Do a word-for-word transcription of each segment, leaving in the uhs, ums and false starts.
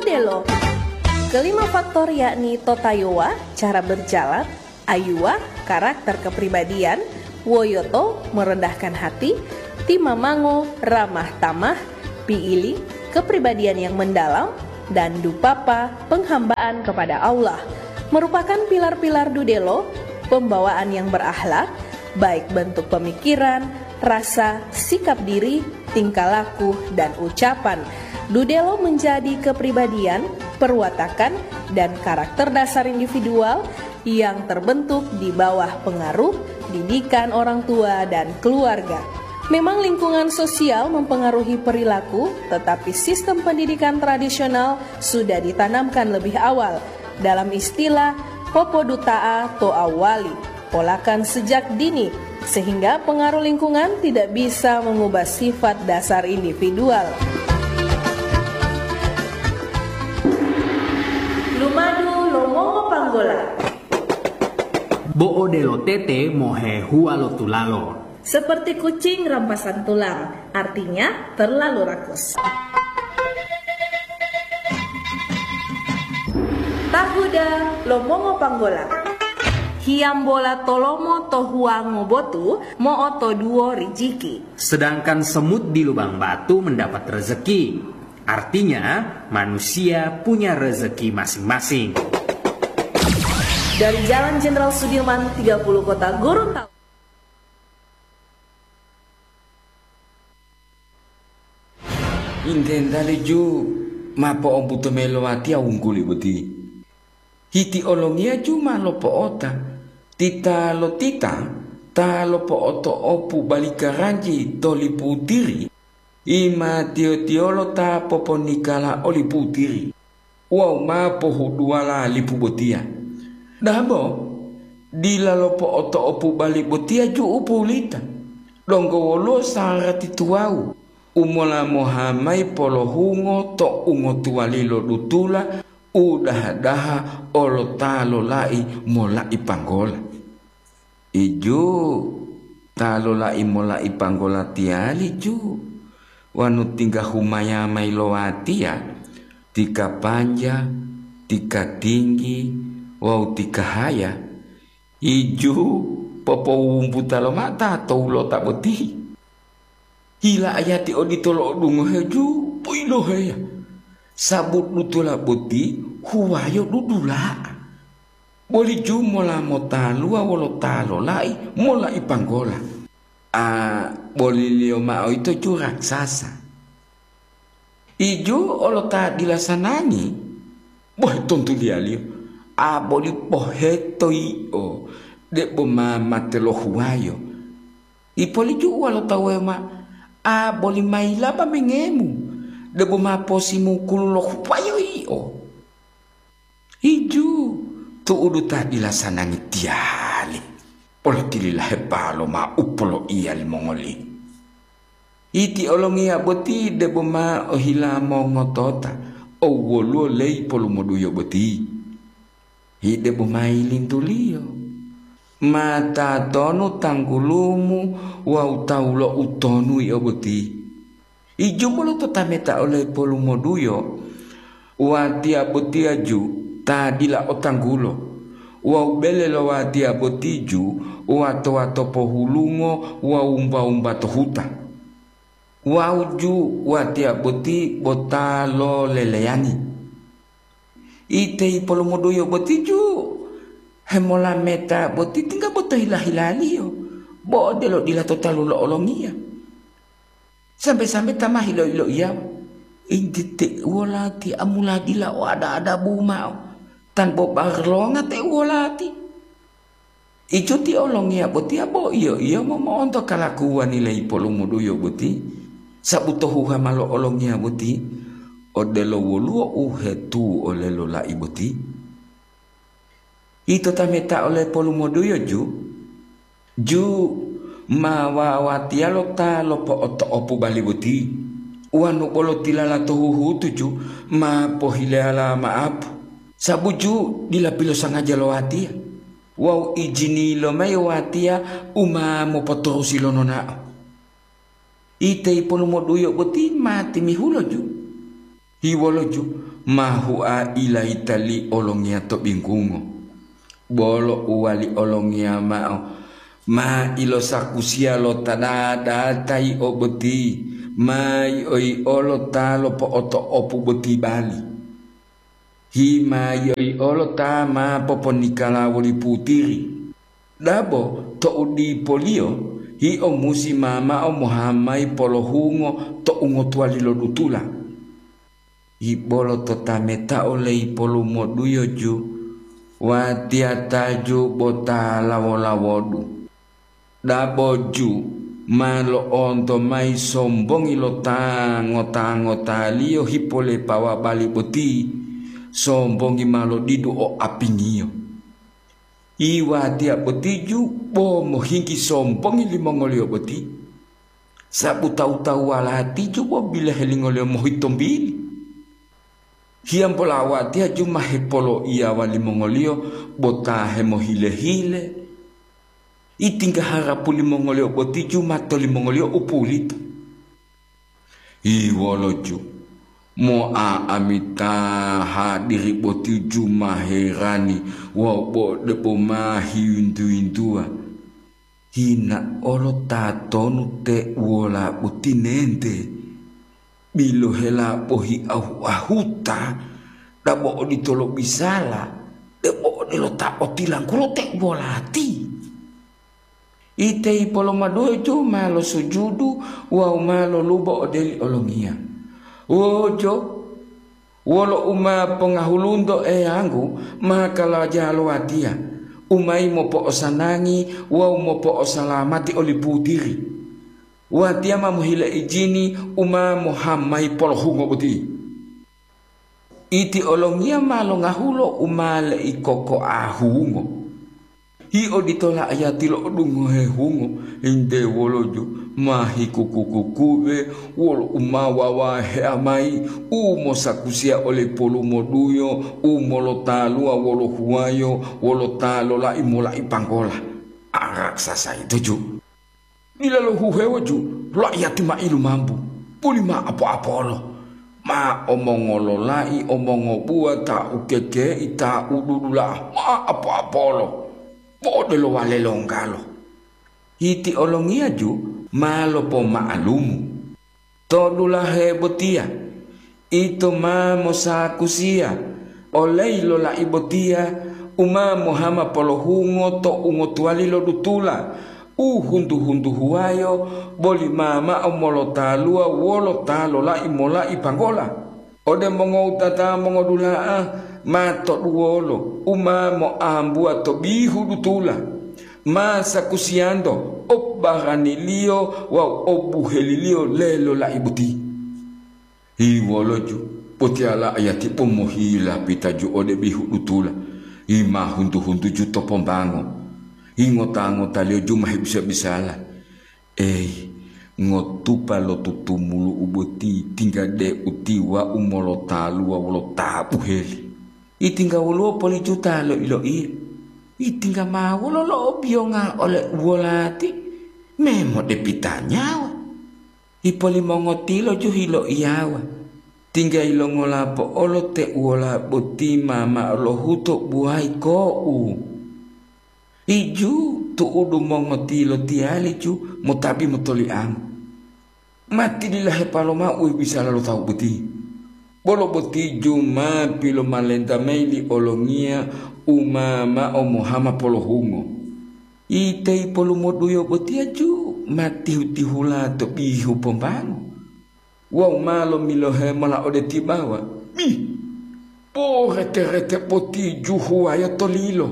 Delo. Kelima faktor yakni totayowa, cara berjalan, ayuwa, karakter kepribadian, woyoto, merendahkan hati, timamango, ramah tamah, piili, kepribadian yang mendalam, dan dupapa, penghambaan kepada Allah, merupakan pilar-pilar dudelo, pembawaan yang berakhlak, baik bentuk pemikiran, rasa, sikap diri, tingkah laku, dan ucapan. Dudelo menjadi kepribadian, perwatakan, dan karakter dasar individual yang terbentuk di bawah pengaruh didikan orang tua dan keluarga. Memang lingkungan sosial mempengaruhi perilaku, tetapi sistem pendidikan tradisional sudah ditanamkan lebih awal. Dalam istilah, popodutaa to awali, polakan sejak dini, sehingga pengaruh lingkungan tidak bisa mengubah sifat dasar individual. Lumadu lo mongo panggola. Bo'o delo tete mohehuwa lo tulalo. Seperti kucing rampasan tulang, artinya terlalu rakus. Tahuda lo mongo panggola. Hiyambola tolomo to huwango botu mo'otoduwo rijiki. Sedangkan semut di lubang batu mendapat rezeki. Artinya, manusia punya rezeki masing-masing. Dari Jalan Jenderal Sudirman tiga puluh Kota Gorontalo. Intenta liju ma po'ombuto mayi lo watiya wungguli boti. Hiti olongiya ju ma lopo'ota, titalotita ta lopo'oto'opu bali karanji to lipu tiri, i ma tiyo-tiyolo ta poponikala o lipu tiri wawu ma pohuduwala lipu botiya. Dabo, dila lopo'oto'opu bali botiya ju u pulita, donggo woluwo sarati tuwawu u mola moha mayi polohungo to ungotuwali lo dutula u daha-daha olo ta lolai mola'i panggola. Iju ta lolai mola'i panggola tiyali ju, wanu tingga humaya mayi lo watiya, tika panja, tika tinggi, wawu tika haya, iju popowumbuta lomao ta to wolota boti. Hila ayati odito lo'odungohe ju poiloheya, sabu dutula boti huwayo dudula'a. Boli ju mola motaluwa wolo ta lolai mola'i panggola. A, boliliyo mao yito ju raksasa. Iju olo ta dila sanangi, bohe tontuliyaliyo, a boli poheto yio, debo ma mate lohuwayo. Ipoliju'uwa lo tawu ma, a boli mayilaba mengemu, debo ma posimukulu lohuwayo yio. Iju tu'udu ta dila sanangi tiyali, polotililahe palo ma u poloiya limongoli. Iti olongiya boti debo ma ohila mongotota, o woluwo leyi polumoduyo boti. Hidebo mayi lintuliyo. Ma tatonu tanggulumu wawu tawu lo utonu yio boti. Ijumolo to tameta ole polumoduyo, watiya botiya ju ta dila o tanggulo, wawu bele lo watiya boti ju wato-wato pohulungo wawu wumba-wumba to huta. Wawu ju watiya boti bo ta loleleyani. Iteyi polomoduyo boti ju hemolameta boti tingga bo to hila-hilaliyo, bo odelo dila to talu lo olongiya. Sambe-sambe ta ma hilo-iloiyawa, intiteuwo lati amula dila o ada-adabu mao, tanbo barlonga teuwo lati. Iju ti olongiya botiya bo iyo-iyo momo'onto kalakuwani leyi polumuduyo boti, sabu to huhama lo olongiya boti, odelo woluwo u hetuwu ole lola'i boti. Ito tameta ole polumuduyo ju, ju ma wawatiyalo ta lopo'oto'opu bali boti, wanu bolo tilala to huhutu ju ma pohileyala ma'apu, sabu ju dila pilosangaja lo watiya. Wawu ijini lomayi watiya u ma mopotorusi lo nonao. Iteyi polumoduyo boti ma timihulo ju. Hiwoloju ma hua ilayita li olongiya to binggungo. Bolo uwali olongiya ma'o, ma ilosakusiya lo ta data yio boti, ma yio-yiolo ta lopo'oto'opu boti bali. Hi ma yio-yiolo ta ma poponikala woli putiri. Dabo to'u dipoliyo, yio musi mamao mohamayi polohungo to ungotuwali lo dutula. Ibolo to tametao leyi polumoduyo ju, watiya ta ju bo ta lawo-lawodu. Dabo ju ma lo'onto mayi sombongi lo ta ngota-ngotaliyo hipolepawa bali boti, sombongi ma lodidu o apingiyo. Iwatiya boti ju bo mohinggi sombongi limongoliyo boti, sabu tawu-tawuwala tiju bo bilohelingoliyo mohitombili. Hiyambola watiya ju ma hepoloiyawa limongoliyo bo ta hemohile-hile. Itingga harapu limongoliyo boti ju ma tolimongoliyo u pulita. Iwoloju, mo'a'amita hadiri boti ju ma herani wawu bo debo ma hiyintu-yintuwa. Hina olo tatonu te uwola boti nente? Bilohela bohi ahu-ahuta, dabo oditolo bisala, debo odelo ta otilanggulo te uwolati. Ite ipolomaduwoju ma losujudu wawu ma lolubo ode li olongiya. Wojo, wolo u ma pongahulunto Eyanggu ma kalaja lo watiya, u mayi mopo'osanangi wawu mopo'osalamati oli putiri. Watiya ma mohile ijini u ma mohamayi polohungo boti. Iti olongiya ma longahulo u ma leikokoa hungo. Hi odito la'ayati lo'odungohe hungo, ente woloju ma hikuku-kukuwe wolo u ma wawahea mayi, u mosakusiya ole polumoduyo, u molotaluwa wolo huwayo, wolo ta lolai molai panggola. A raksasa yito ju! Dila lohuhewo ju, la'ayati ma ilumambu, puli ma apo-apolo, ma omongololai, omongobuwa, ta ukekei, ta ududula'a, ma apo-apolo, bo odelo wale longgalo. Hiti olongiya ju ma lopoma'alumu. To dulahe botiya, ito ma mosakusiya oleyi lolai botiya u ma mohama polohungo to ungotuwali lo dutula, u huntu-huntuhuwayo boli ma mao molotaluwa wolo ta lolai molai panggola. Ode mongowutata mongodula'a ma toduwolo u ma moambuwa to bihu dutula, ma sakusiyanto o baraniliyo wawu o buheliliyo lelolai boti. Hiwoloju, potiyala ayati pomohila pitaju ode bihu dutula, yi ma huntu-huntuju to pombango, yi ngota-ngotaliyo ju ma hebisa-bisala. Eyi, ngotupa lo tutumulu'u boti tingga deu tiwa'u molotaluwa wolo ta buheli. Itingga woluwo poli juta loiloiya. Itingga ma wolo lo'obiyonga ole uwolati, memo depita nyawa. Ipolimongotilo ju hiloiyawa. Tingga yilongola po'olo te uwola boti ma ma'o lohuto buwayi ko'u. Iju tu'udu mongotilo tiyali ju motabi motoliango. Ma tililahepalo mao u bisala lo tawu boti. Bolo boti ju ma pilomalenta mayi li olongiya u ma mao mohama polohungo. Iteyi polumoduyo botiya ju ma tihu-tihula to bihu pombango. Wawu ma lomilohe mola ode tibawa, bi, porete-rete boti juhuwaya to lilo,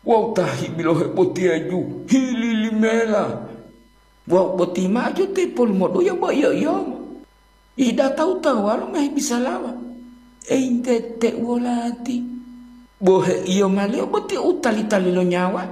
wawu ta hibilohe botiya ju hililimela. Wawu boti ma'o ju te polumoduyo bo iyo-iyomo. Ida tawu-tawuwalo ma hebisalawa, eyinte te uwolati, bo heiyomaliyo boti u tali-tali lo nyawa.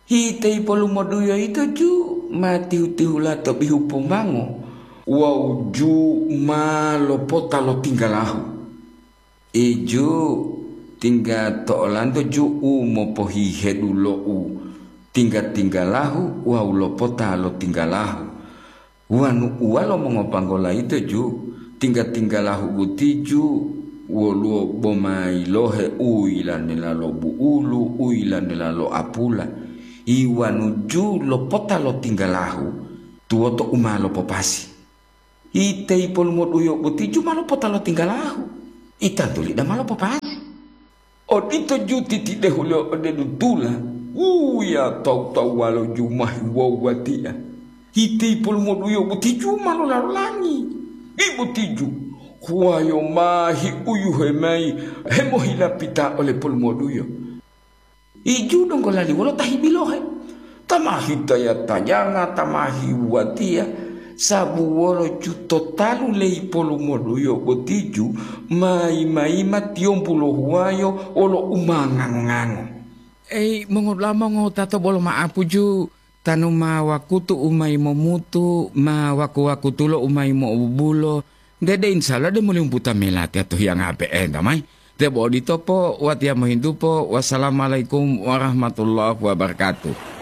Hiteyi polumoduyo yito ju ma tihu-tihula to bihu pombango wawu ju ma lopota lo tinggalahu. Iju tingga to olanto ju u mopohihedu lo u tingga-tinggalahu wawu lopota lo tinggalahu. Wonu uwalo mongopanggola yito ju, Tingga-tinggalahu botiju woluwo bomayilohe u yilanela lo bu'ulu, u yilanela lo apula, iwanuju lopota lo tinggalahu tuwoto u ma lopopasi. Ite ipolumoduyo botiju ma lopota lo tinggalahu, itantuli dama lopopasi. Odito ju titidehuliyo ode dutula, wuya tawu-tawuwalo ju ma hiwowu watiya. Ite ipolumoduyo botiju ma lolalolangi. Ibotiju, huwayo ma hiuyuhe mayi hemohilapita ole polumoduyo. Iju donggo lali wolo ta hibilohe, ta ma hitaya-tayanga, ta ma hiwuwatiya, sabu wolo ju to talu leyi polumoduyo botiju mayi-mayima tiyombu lo huwayo wolo u ma ngango-ngango. Eyi, mongodula'a mongowutato bolo ma'apu ju, tanu ma wakutu u mayi momutu, ma waku-wakutulo u mayi mo'obubulo, dede insya Allah de muli umbuta melatiya to hiyanga pe'enta mayi. Debo odito po, watiya mohintu po. Wassalamualaikum warahmatullahi wabarakatuh.